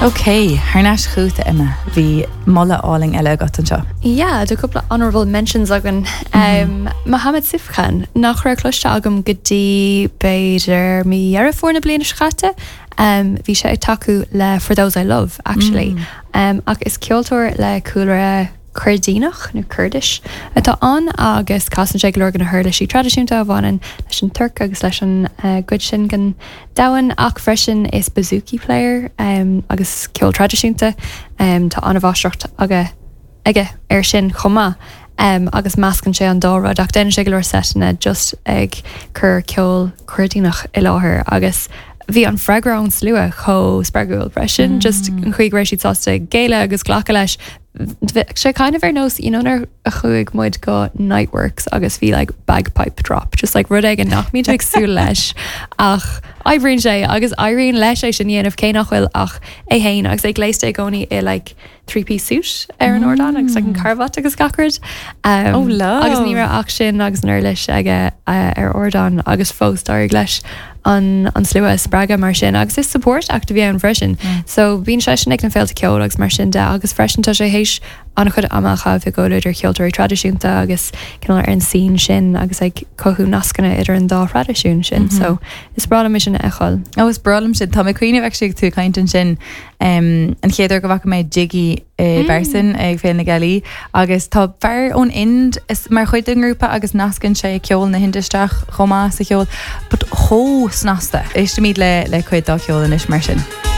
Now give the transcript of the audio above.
Ok, thar n-ais chugat a Emma, bhí moladh álainn eile agat anseo. Yeah, tá cúpla honourable mentions againn. Um, Mohammed Sifkhan, nach raibh cloiste agam go dtí b'fhéidir mí Dheireadh Fómhair na bliana seo caite. Um, bhí sé ag tacú le For Those I Love, actually. Um, ach is ceoltóir le cúlra Coirdíneach, nó Kurdish, atá ann agus casann sé go leor de na huirlisí traidisiúnta a bhaineann leis an Tuirc agus leis an gcuid sin den domhan ach freisin is bouzouki player agus ceol traidisiúnta. Tá an-mháistreacht aige aige air sin chomh maith agus meascann sé an dá rud ach déanann sé go leor seiteanna just ag cur ceol Coirdíneach i láthair agus bhí an freagra ón slua chomh spreagúil freisin, just an chaoi go raibh siad sásta géilleadh agus glacadh leis. Bhí sé kind of ar nós, you know nuair a chuaigh muid go Niteworks agus bhí like bagpipe drop, just like rud éigin nach mbíonn tú ag súil leis ach oibríonn sé agus éiríonn leis é sin a dhéanamh cé nach bhfuil ach é féin agus é gléasta i gcónaí i like three piece suit ar an ardán agus like an carbhat agus gach rud. Um, Oh, love. Agus ní raibh ach sin agus an uirlis aige uh, ar ardán agus fós d'éirigh leis an an slua a spreagadh mar sin agus is support act a bhí ann freisin. So bíonn seisean ag na féilte ceoil agus mar sin de agus freisin tá sé théis an-chuid ama a chaitheamh i gcomhluadar cheoltóirí traidisiúnta agus cineál ar an scene sin agus ag cothú nascanna idir an dá thraidisiún sin. So is breá liom é sin a fheiceáil. Ó is breá liom sin. Tá mé ag cuimhneamh actually ag tú ag caint ansin um, an chéad uair go bhfaca mé Jiggy i bpearsan ag Féile na Gealaí agus tá fear ón Ind mar chuid den ngrúpa agus nascann sé ceol na hInde isteach chomh maith sa cheol, but chomh snasta. Éistimid le le cuid dá cheol anois mar sin.